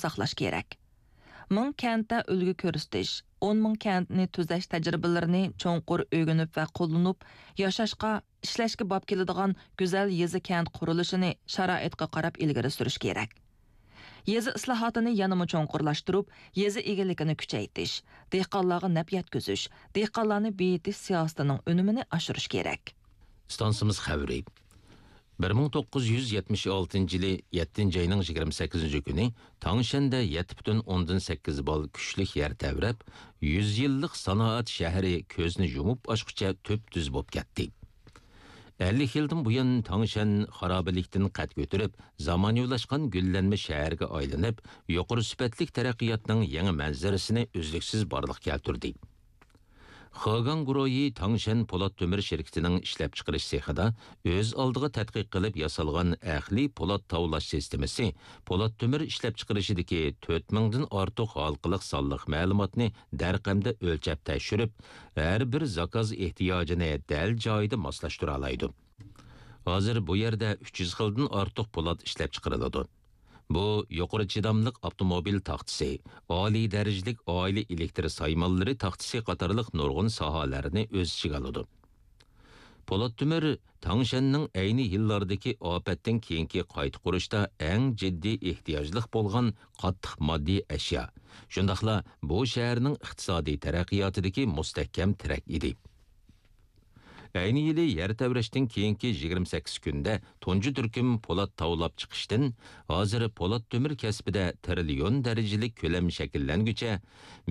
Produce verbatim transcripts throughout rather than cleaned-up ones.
ساقلاش كېرەك. مىڭ كەنتتە ئۈلگە كۆرسىتىش، ئون مىڭ كەنتنى تۈزەش تەجرىبىلىرىنى چوڭقۇر ئۆگىنىپ ۋە قوللىنىپ، ياشاشقا، ئىشلەشكە باب كېلىدىغان گۈزەل يېزا كەنت قۇرۇلۇشىنى شارائىتقا قاراپ ئىلگىرى سۈرۈش كېرەك. يېزا ئىسلاھاتىنى يەنىمۇ چوڭقۇرلاشتۇرۇپ، يېزا ئىگىلىكىنى كۈچەيتىش، دېھقانلارغا نەپ يەتكۈزۈش، دېھقانلارنى بېيىتىش سىياسىتىنىڭ ئۈنۈمىنى ئاشۇرۇش كېرەك. ئىستانسىمىز خەۋىرى. بىر مىڭ توققۇز يۈز يەتمىش ئالتىنچى يىلى يەتتىنچى ئاينىڭ يىگىرمە سەككىزىنچى كۈنى تاڭشەندە يەتتە پۈتۈن ئوندىن سەككىز بال كۈچلۈك يەر تەۋرەپ، يۈز يىللىق سانائەت شەھىرى كۆزنى يۇمۇپ ئاچقۇچە تۈپتۈز بولۇپ كەتتى. ئەللىك يىلدىن بۇيان، تاڭشەن خارابىلىكتىن قەد كۆتۈرۈپ، زامانىۋىلاشقان گۈللەنمە شەھەرگە ئايلىنىپ، يۇقىرى سۈپەتلىك تەرەققىياتنىڭ يېڭى مەنزىرىسىنى ئۈزلۈكسىز بارلىققا كەلتۈردى. خېگاڭ گۇرۇھى تاڭشەن پولات تۆمۈر شىركىتىنىڭ ئىشلەپچىقىرىش سېخىدا ئۆز ئالدىغا تەتقىق قىلىپ ياسالغان ئەقلىي پولات تاۋلاش سىستېمىسى پولات تۆمۈر ئىشلەپچىقىرىشىدىكى تۆت مىڭدىن ئارتۇق ھالقىلىق سانلىق مەلۇماتنى دەرقەمدە ئۆلچەپ تەكشۈرۈپ، ھەر بىر زاكاز ئېھتىياجىنى دەل جايىدا ماسلاشتۇرالايدۇ. ھازىر بۇ يەردە ئۈچ يۈز خىلدىن ئارتۇق پولات ئىشلەپچىقىرىلىدۇ. بۇ يۇقىرى چىداملىق ئاپتوموبىل تاختىسى، ئالىي دەرىجىلىك ئائىلە ئېلېكتر سايمانلىرى تاختىسى قاتارلىق نۇرغۇن ساھەلەرنى ئۆز ئىچىگە ئالىدۇ. پولات تۆمۈر تاڭشەننىڭ ئەينى يىللاردىكى ئاپەتتىن كېيىنكى قايتا قۇرۇشتا ئەڭ جىددىي ئېھتىياجلىق بولغان قاتتىق ماددىي ئەشيا، شۇنداقلا بۇ شەھەرنىڭ ئىقتىسادىي تەرەققىياتىدىكى مۇستەھكەم تىرەك ئىدى. ئەينى يىلى يەر تەۋرەشتىن كېيىنكى يىگىرمە سەككىز كۈندە تۇنجى تۈركۈم پولات تاۋلاپ چىقىشتىن، ھازىر پولات تۆمۈر كەسپىدە تىرىليون دەرىجىلىك كۆلەم شەكىللەنگۈچە،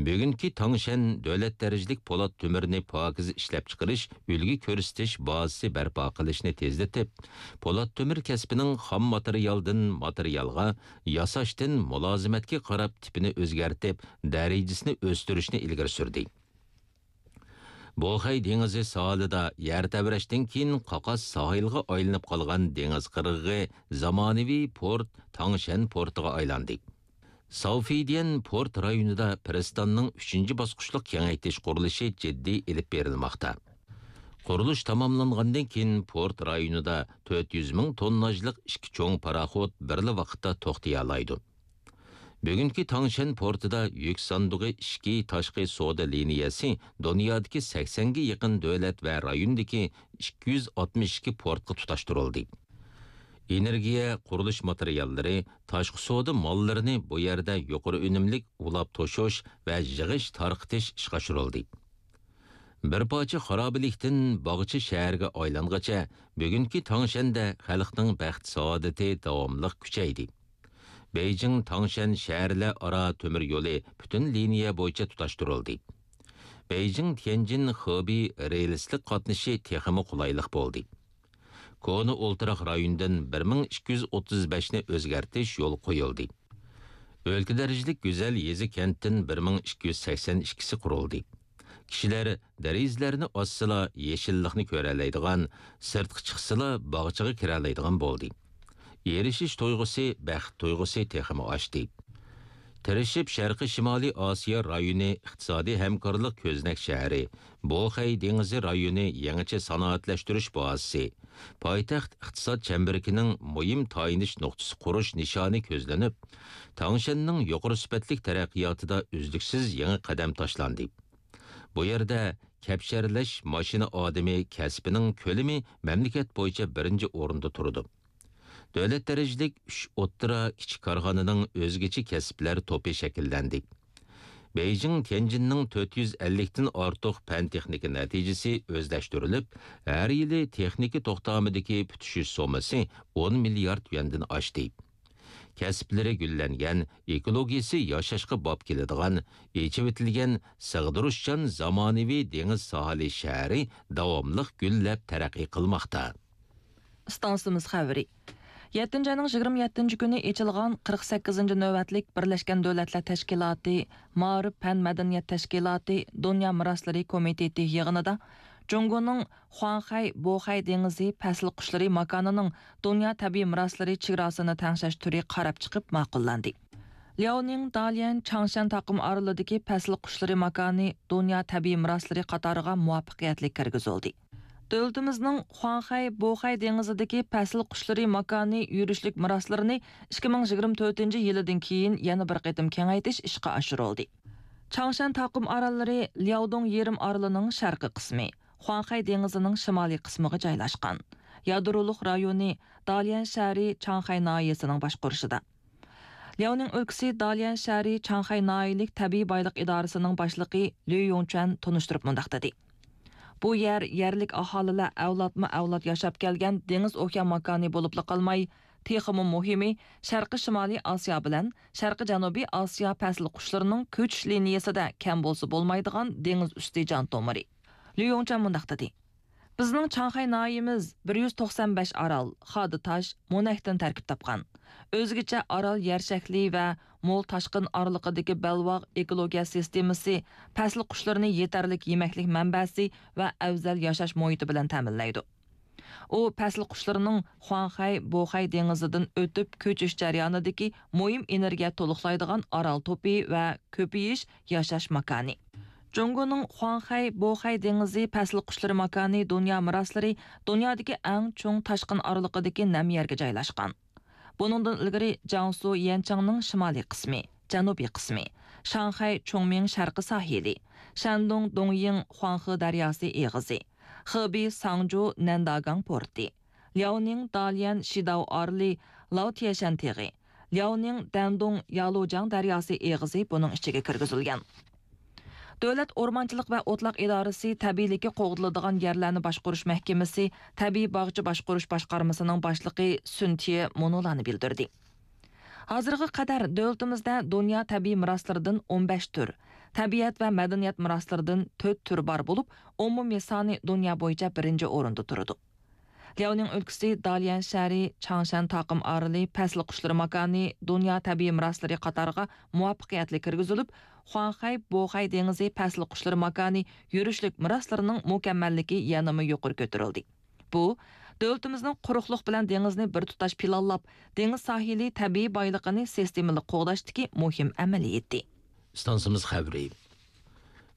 بۈگۈنكى تاڭشەن دۆلەت دەرىجىلىك پولات تۆمۈرنى پاكىز ئىشلەپچىقىرىش، ئۈلگە كۆرسىتىش بازىسى بەرپا قىلىشنى تېزلىتىپ، پولات تۆمۈر كەسپىنىڭ خام ماتېرىيالدىن ماتېرىيالغا، ياساشتىن مۇلازىمەتكە قاراپ تىپىنى ئۆزگەرتىپ، دەرىجىسىنى ئۆستۈرۈشنى ئىلگىرى سۈردى. بوخەي دېڭىزى ساھىلىدا يەر تەۋرەشتىن كېيىن قاقاس ساھىلغا ئايلىنىپ قالغان دېڭىز قىرغىقى زامانىۋى پورت تاڭشەن پورتىغا ئايلاندى. ساۋفىديەن پورت رايونىدا پىرىستاننىڭ ئۈچىنچى باسقۇچلۇق كېڭەيتىش قۇرۇلۇشى جىددىي ئېلىپ بېرىلماقتا. قۇرۇلۇش تاماملانغاندىن كېيىن، پورت رايونىدا تۆت يۈز مىڭ تونناژلىق ئىككى چوڭ پاراخوت بىرلا ۋاقىتتا توختىيالايدۇ. بۈگۈنكى تاڭشەن پورتىدا يۈك ساندۇقى ئىچكى تاشقى سودا لىنىيەسى دۇنيادىكى سەكسەنگە يېقىن دۆلەت ۋە رايوندىكى ئىككى يۈز ئاتمىش ئىككى پورتقا تۇتاشتۇرۇلدى. ئېنېرگىيە، قۇرۇلۇش ماتېرىياللىرى، تاشقى سودا ماللىرىنى بۇ يەردە يۇقىرى ئۈنۈملۈك ئۇلاپ توشۇش ۋە يىغىش تارقىتىش ئىشقا ئاشۇرۇلدى. بىر پارچە خارابىلىكتىن باغچە شەھەرگە ئايلانغىچە، بۈگۈنكى تاڭشەندە خەلقنىڭ بەخت-سائادىتى داۋاملىق كۈچەيدى. بېيجىڭ تاڭشەن شەھەرلەر ئارا تۆمۈر يولى پۈتۈن لىنىيە بويىچە تۇتاشتۇرۇلدى. بېيجىڭ تيەنجىن خېبېي رېلىسلىق قاتنىشى تېخىمۇ قولايلىق بولدى. كونا ئولتۇراق رايونىدىن بىر مىڭ ئىككى يۈز ئوتتۇز بەشنى ئۆزگەرتىش يولغا قويۇلدى. ئۆلكە دەرىجىلىك گۈزەل يېزا كەنتتىن بىر مىڭ ئىككى يۈز سەكسەن ئىككىسى قۇرۇلدى. كىشىلەر دېرىزىلەرنى ئاچسىلا، يېشىللىقنى كۆرەلەيدىغان، سىرتقا چىقسىلا، باغچىغا كىرەلەيدىغان بولدى. ئېرىشىش تۇيغۇسى، بەخت تۇيغۇسى تېخىمۇ ئاشتى. تىرىشىپ شەرقىي شىمالىي ئاسىيا رايونى ئىقتىسادىي ھەمكارلىق كۆزنەك شەھىرى، بوخەي دېڭىزى رايونى يېڭىچە سانائەتلەشتۈرۈش بازىسى، پايتەخت ئىقتىساد چەمبىرىكىنىڭ مۇھىم تايىنىش نۇقتىسى قۇرۇش نىشانى كۆزلىنىپ، تاڭشەننىڭ يۇقىرى سۈپەتلىك تەرەققىياتىدا ئۈزلۈكسىز يېڭى قەدەم تاشلاندى. بۇ يەردە كەپشەرلەش ماشىنا ئادىمى كەسپىنىڭ كۆلىمى مەملىكەت بويىچە بىرىنچى ئورۇندا تۇرىدۇ. دۆلەت دەرىجىلىك ئۈچ ئوتتۇرا، كىچىك كارخانىنىڭ ئۆزگىچە كەسىپلەر توپى شەكىللەندى. بېيجىڭ تيەنجىننىڭ تۆت يۈز ئەللىكتىن ئارتۇق پەن-تېخنىكا نەتىجىسى ئۆزلەشتۈرۈلۈپ، ھەر يىلى تېخنىكا توختامىدىكى پۈتۈشۈش سوممىسى ئون مىليارد يۈەندىن ئاشتى. كەسىپلىرى گۈللەنگەن، ئېكولوگىيىسى ياشاشقا باب كېلىدىغان، ئېچىۋېتىلگەن، سىغدۇرۇشچان زامانىۋى دېڭىز ساھىلى شەھىرى داۋاملىق گۈللەپ تەرەققىي قىلماقتا. ئىستانسىمىز خەۋىرى. يەتتىنچى ئاينىڭ يىگىرمە يەتتىنچى كۈنى ئېچىلغان قىرىق سەككىزىنچى نۆۋەتلىك بىرلەشكەن دۆلەتلەر تەشكىلاتى مائارىپ پەن مەدەنىيەت تەشكىلاتى دۇنيا مىراسلىرى كومىتېتى يىغىنىدا جۇڭگونىڭ خۇاڭخەي بوخەي دېڭىزى پەسىل قۇشلىرى ماكانىنىڭ دۇنيا تەبىئىي مىراسلىرى چېگراسىنى تەڭشەش تۈرى قاراپ چىقىپ ماقۇللاندى. لياۋنىڭ داليەن چاڭشەن تاقىم ئارىلىدىكى پەسىل قۇشلىرى ماكانى دۇنيا تەبىئىي مىراسلىرى قاتارىغا مۇۋەپپەقىيەتلىك كىرگۈزۈلدى. دۆلىتىمىزنىڭ خۇاڭخەي، بوخەي دېڭىزىدىكى پەسىل قۇشلىرى ماكانى يۈرۈشلۈك مىراسلىرىنى ئىككى مىڭ يىگىرمە تۆتىنچى يىلىدىن كېيىن يەنە بىر قېتىم كېڭەيتىش ئىشقا ئاشۇرۇلدى. چاڭشەن تاقىم ئاراللىرى لياۋدۇڭ يېرىم ئارىلىنىڭ شەرقىي قىسمى، خۇاڭخەي دېڭىزىنىڭ شىمالىي قىسمىغا جايلاشقان. يادرولۇق رايونى داليەن شەھىرى چاڭخەي ناھىيەسىنىڭ باشقۇرۇشىدا. لياۋنىڭ ئۆلكىسى داليەن شەھىرى چاڭخەي ناھىيەلىك تەبىئىي بايلىق ئىدارىسىنىڭ باشلىقى ليۇ يوڭچۈەن تونۇشتۇرۇپ مۇنداق دېدى: بۇ يەر يەرلىك ئاھالىلەر ئەۋلادمۇ ئەۋلاد ياشاپ كەلگەن دېڭىز ئوكيان ماكانى بولۇپلا قالماي، تېخىمۇ مۇھىمى، شەرقىي شىمالىي ئاسىيا بىلەن شەرقىي جەنۇبىي ئاسىيا پەسىل قۇشلىرىنىڭ كۆچۈش لىنىيەسىدە كەم بولسا بولمايدىغان دېڭىز ئۈستى جان تومۇرى. ليۇ يوڭچۈەن مۇنداق دېدى: بىزنىڭ چاڭخەي ناھىيەمىز بىر يۈز توقسان بەش ئارال، خادا تاش، مونەكتىن تەركىب تاپقان. ئۆزگىچە ئارال يەر شەكلى ۋە مول تاشقىن ئارىلىقىدىكى بەلباغ ئېكولوگىيە سىستېمىسى پەسىل قۇشلىرىنى يېتەرلىك يېمەكلىك مەنبەسى ۋە ئەۋزەل ياشاش مۇھىتى بىلەن تەمىنلەيدۇ. ئۇ پەسىل قۇشلىرىنىڭ خۇاڭخەي، بوخەي دېڭىزىدىن ئۆتۈپ كۆچۈش جەريانىدىكى مۇھىم ئېنېرگىيە تولۇقلايدىغان ئارال توپى ۋە كۆپىيىش ياشاش ماكانى. جۇڭگونىڭ خۇاڭخەي، بوخەي دېڭىزى پەسىل قۇشلىرى ماكانى دۇنيا مىراسلىرى دۇنيادىكى ئەڭ چوڭ تاشقىن ئارىلىقىدىكى نەم يەرگە جايلاشقان. بۇنىڭدىن ئىلگىرى جياڭسۇ يەنچىڭنىڭ شىمالىي قىسمى، جەنۇبىي قىسمى، شاڭخەي چۇڭمىڭ شەرقىي ساھىلى، شەندۇڭ دۇڭيىڭ خۇاڭخې دەرياسى ئېغىزى، خېبېي ساڭجۇ نەنداگاڭ پورتى، لياۋنىڭ داليەن شىداۋ ئارىلى لاۋتيەشەن تېغى، لياۋنىڭ دەندۇڭ يالۇجياڭ دەرياسى ئېغىزى بۇنىڭ ئىچىگە كىرگۈزۈلگەن. دۆلەت ئورمانچىلىق ۋە ئوتلاق ئىدارىسى تەبىئىيلىكى قوغدىلىدىغان يەرلەرنى باشقۇرۇش مەھكىمىسى تەبىئىي باغچە باشقۇرۇش باشقارمىسىنىڭ باشلىقى سۈن تيې مۇنۇلارنى بىلدۈردى: ھازىرغا قەدەر دۆلىتىمىزدە دۇنيا تەبىئىي مىراسلىرىدىن ئون بەش تۈر، تەبىئەت ۋە مەدەنىيەت مىراسلىرىدىن تۆت تۈر بار بولۇپ، ئومۇمىي سانى دۇنيا بويىچە بىرىنچى ئورۇندا تۇرىدۇ. لياۋنىڭ ئۆلكىسى داليەن شەھىرى چاڭشەن تاقىم ئارىلى پەسىل قۇشلىرى ماكانى دۇنيا تەبىئىي مىراسلىرى قاتارىغا مۇۋەپپەقىيەتلىك كىرگۈزۈلۈپ، خۇاڭخەي، بوخەي دېڭىزى پەسىل قۇشلىرى ماكانى يۈرۈشلۈك مىراسلىرىنىڭ مۇكەممەللىكى يەنىمۇ يۇقىرى كۆتۈرۈلدى. بۇ، دۆلىتىمىزنىڭ قۇرۇقلۇق بىلەن دېڭىزنى بىر تۇتاش پىلانلاپ، دېڭىز ساھىلى تەبىئىي بايلىقىنى سىستېمىلىق قوغداشتىكى مۇھىم ئەمەلىيىتى. ئىستانسىمىز خەۋىرى.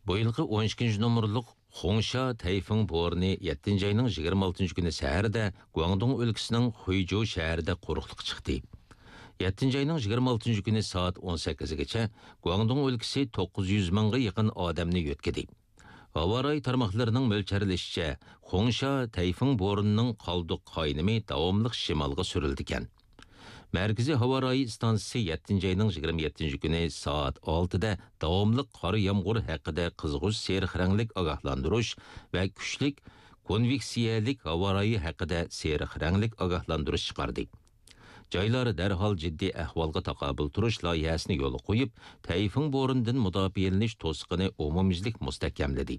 بۇ يىلقى ئون ئىككىنچى نومۇرلۇق خۇڭشيا تەيفۇڭ بورىنى يەتتىنچى ئاينىڭ يىگىرمە ئالتىنچى كۈنى سەھەردە گۇاڭدۇڭ ئۆلكىسىنىڭ خۇيجۇ شەھىرىدە قۇرۇقلۇققا چىقتى. يەتتىنچى ئاينىڭ يىگىرمە ئالتىنچى كۈنى سائەت ئون سەككىزگىچە گۇاڭدۇڭ ئۆلكىسى توققۇز يۈز مىڭغا يېقىن ئادەمنى يۆتكىدى. ھاۋا رايى تارماقلىرىنىڭ مۆلچەرلىشىچە، خۇڭشيا تەيفۇڭ بورىنىنىڭ قالدۇق قاينىمى داۋاملىق شىمالغا سۈرۈلىدىكەن. مەركىزىي ھاۋا رايى ئىستانسىسى يەتتىنچى ئاينىڭ يىگىرمە يەتتىنچى كۈنى سائەت ئالتىدە داۋاملىق قار يامغۇر ھەققىدە قىزغۇچ سېرىق رەڭلىك ئاگاھلاندۇرۇش ۋە كۈچلۈك كونۋېكسىيەلىك ھاۋا رايى ھەققىدە سېرىق رەڭلىك ئاگاھلاندۇرۇش چىقاردى. جايلار دەرھال جىددىي ئەھۋالغا تاقابىل تۇرۇش لايىھەسىنى يولغا قويۇپ، تەيفۇڭ بورىنىدىن مۇداپىئەلىنىش توسۇقىنى ئومۇميۈزلۈك مۇستەھكەملىدى.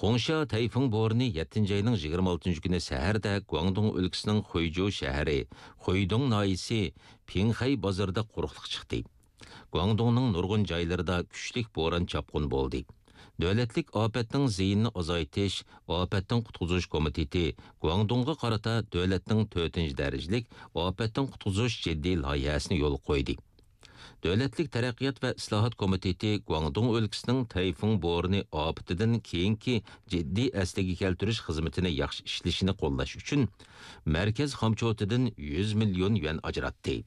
خۇڭشيا تەيفۇڭ بورىنى يەتتىنچى ئاينىڭ يىگىرمە ئالتىنچى كۈنى سەھەردە گۇاڭدۇڭ ئۆلكىسىنىڭ خۇيجۇ شەھىرى، خۇيدۇڭ ناھىيىسى پىڭخەي بازىرىدا قۇرۇقلۇق چىقتى. گۇاڭدۇڭنىڭ نۇرغۇن جايلىرىدا كۈچلۈك بوران-چاپقۇن بولدى. دۆلەتلىك ئاپەتنىڭ زىيىنىنى ئازايتىش، ئاپەتتىن قۇتقۇزۇش كومىتېتى گۇاڭدۇڭغا قارىتا دۆلەتنىڭ تۆتىنچى دەرىجىلىك ئاپەتتىن قۇتقۇزۇش جىددىي لايىھەسىنى يولغا قويدى. دۆلەتلىك تەرەققىيات ۋە ئىسلاھات كومىتېتى گۇاڭدۇڭ ئۆلكىسىنىڭ تەيفۇڭ بورىنى ئاپىتىدىن كېيىنكى جىددىي ئەسلىگە كەلتۈرۈش خىزمىتىنى ياخشى ئىشلىشىنى قوللاش ئۈچۈن مەركەز خامچوتىدىن يۈز مىليون يۈەن ئاجراتتى.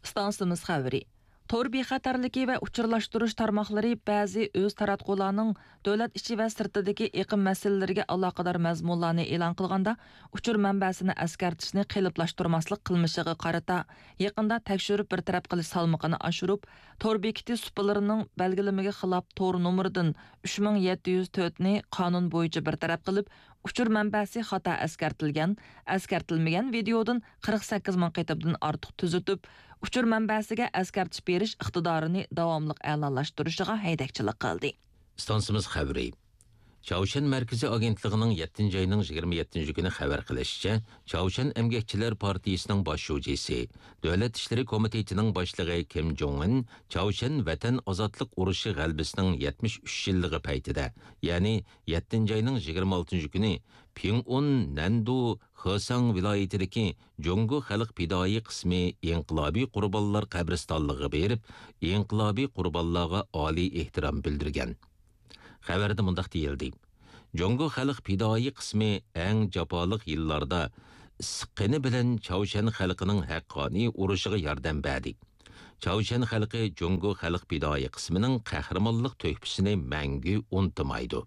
ئىستانسىمىز خەۋىرى. تور بىخەتەرلىكى ۋە ئۇچۇرلاشتۇرۇش تارماقلىرى بەزى ئۆز تاراتقۇلارنىڭ دۆلەت ئىچى ۋە سىرتىدىكى ئېقىم مەسىلىلىرىگە ئالاقىدار مەزمۇنلارنى ئېلان قىلغاندا، ئۇچۇر مەنبەسىنى ئەسكەرتىشنى قېلىپلاشتۇرماسلىق قىلمىشىغا قارىتا، يېقىندا تەكشۈرۈپ بىر تەرەپ قىلىش سالمىقىنى ئاشۇرۇپ، تور بېكىتى سۇپىلىرىنىڭ بەلگىلىمىگە خىلاپ تور نومۇرىدىن ئۈچ مىڭ يەتتە يۈز تۆتنى قانۇن بويىچە بىر تەرەپ قىلىپ، ئۇچۇر مەنبەسى خاتا ئەسكەرتىلگەن، ئەسكەرتىلمىگەن ۋىدېيودىن قىرىق سەككىز مىڭ قېتىمدىن ئارتۇق تۈزىتىپ، ئۇچۇر مەنبەسىگە ئەسكەرتىش بېرىش ئىقتىدارىنى داۋاملىق ئەلالاشتۇرۇشىغا ھەيدەكچىلىك قىلدى. ئىستانسىمىز خەۋىرى. چاۋشيەن مەركىزىي ئاگېنتلىقىنىڭ يەتتىنچى ئاينىڭ يىگىرمە يەتتىنچى كۈنى خەۋەر قىلىشىچە، چاۋشيەن ئەمگەكچىلەر پارتىيىسىنىڭ باش شۇجىسى، دۆلەت ئىشلىرى كومىتېتىنىڭ باشلىقى كىم جوڭ ئىن چاۋشيەن ۋەتەن ئازادلىق ئۇرۇشى غەلىبىسىنىڭ يەتمىش ئۈچ يىللىقى پەيتىدە، يەنى يەتتىنچى ئاينىڭ يىگىرمە ئالتىنچى كۈنى پىڭئۇن، نەندۇ، خېساڭ ۋىلايىتىدىكى جۇڭگو خەلق پىدائىي قىسمى ئىنقىلابىي قۇربانلار قەبرىستانلىقىغا بېرىپ، ئىنقىلابىي قۇربانلارغا ئالىي ئېھتىرام بىلدۈرگەن. خەۋەردە مۇنداق دېيىلدى: جۇڭگو خەلق پىدائىي قىسمى ئەڭ جاپالىق يىللاردا ئىسسىق قېنى بىلەن چاۋشيەن خەلقىنىڭ ھەققانىي ئۇرۇشىغا ياردەم بەردى. چاۋشيەن خەلقى جۇڭگو خەلق پىدائىي قىسمىنىڭ قەھرىمانلىق تۆھپىسىنى مەڭگۈ ئۇنتۇمايدۇ.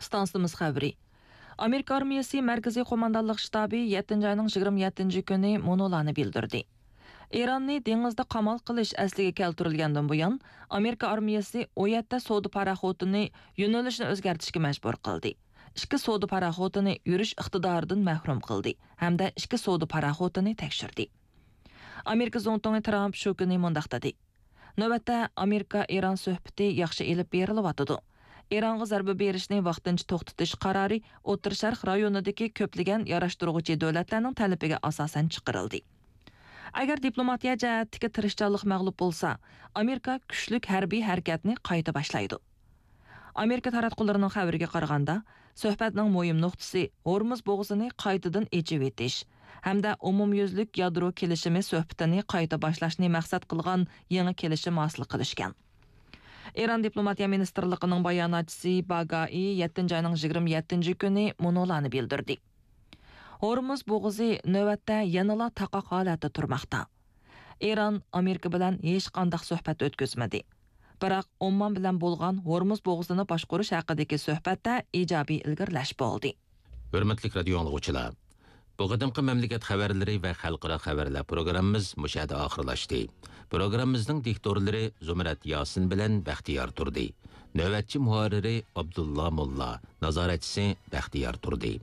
ئىستانسىمىز خەۋىرى. ئامېرىكا ئارمىيەسى مەركىزىي قوماندانلىق شتابى يەتتىنچى ئاينىڭ يىگىرمە يەتتىنچى كۈنى مۇنۇلارنى بىلدۈردى. ئىراننى دېڭىزدا قامال قىلىش ئەسلىگە كەلتۈرۈلگەندىن بۇيان، ئامېرىكا ئارمىيەسى ئۇ يەردە سودا پاراخوتىنى يۆنىلىشنى ئۆزگەرتىشكە مەجبۇر قىلدى. ئىككى سودا پاراخوتىنى يۈرۈش ئىقتىدارىدىن مەھرۇم قىلدى ھەمدە ئىككى سودا پاراخوتىنى تەكشۈردى. ئامېرىكا زۇڭتۇڭى ترامپ شۇ كۈنى مۇنداق دېدى: نۆۋەتتە ئامېرىكا ئىران سۆھبىتى ياخشى ئېلىپ بېرىلىۋاتىدۇ. ئىرانغا زەربە بېرىشنى ۋاقتىنچە توختىتىش قارارى ئوتتۇرا شەرق رايونىدىكى كۆپلىگەن ياراشتۇرغۇچى دۆلەتلەرنىڭ تەلىپىگە ئاساسەن چىقىرىلدى. ئەگەر دىپلوماتىيە جەھەتتىكى تىرىشچانلىق مەغلۇپ بولسا، ئامېرىكا كۈچلۈك ھەربىي ھەرىكەتنى قايتا باشلايدۇ. ئامېرىكا تاراتقۇلىرىنىڭ خەۋىرىگە قارىغاندا، سۆھبەتنىڭ مۇھىم نۇقتىسى ھورمۇز بوغۇزىنى قايتىدىن ئېچىۋېتىش ھەمدە ئومۇميۈزلۈك يادرو كېلىشىمى سۆھبىتىنى قايتا باشلاشنى مەقسەت قىلغان يېڭى كېلىشىم ھاسىل قىلىشكەن. ئىران دىپلوماتىيە مىنىستىرلىقىنىڭ باياناتچىسى باگائى يەتتىنچى ئاينىڭ يىگىرمە يەتتىنچى كۈنى مۇنۇلارنى بىلدۈردى: ھورمۇز بوغۇزى نۆۋەتتە يەنىلا تاقاق ھالەتتە تۇرماقتا. ئىران ئامېرىكا بىلەن ھېچقانداق سۆھبەت ئۆتكۈزمىدى. بىراق ئوممان بىلەن بولغان ھورمۇز بوغۇزىنى باشقۇرۇش ھەققىدىكى سۆھبەتتە ئىجابىي ئىلگىرىلەش بولدى. ھۆرمەتلىك رادىيو ئاڭلىغۇچىلار، بۇ قېتىمقى مەملىكەت خەۋەرلىرى ۋە خەلقئارا خەۋەرلەر پروگراممىمىز مۇشۇ يەردە ئاخىرلاشتى. پروگراممىمىزنىڭ دىكتورلىرى زۇمرەت ياسىن بىلەن بەختىيار تۇردى. نۆۋەتچى مۇھەررىرى ئابدۇللا موللا، نازارەتچىسى بەختىيار تۇردى.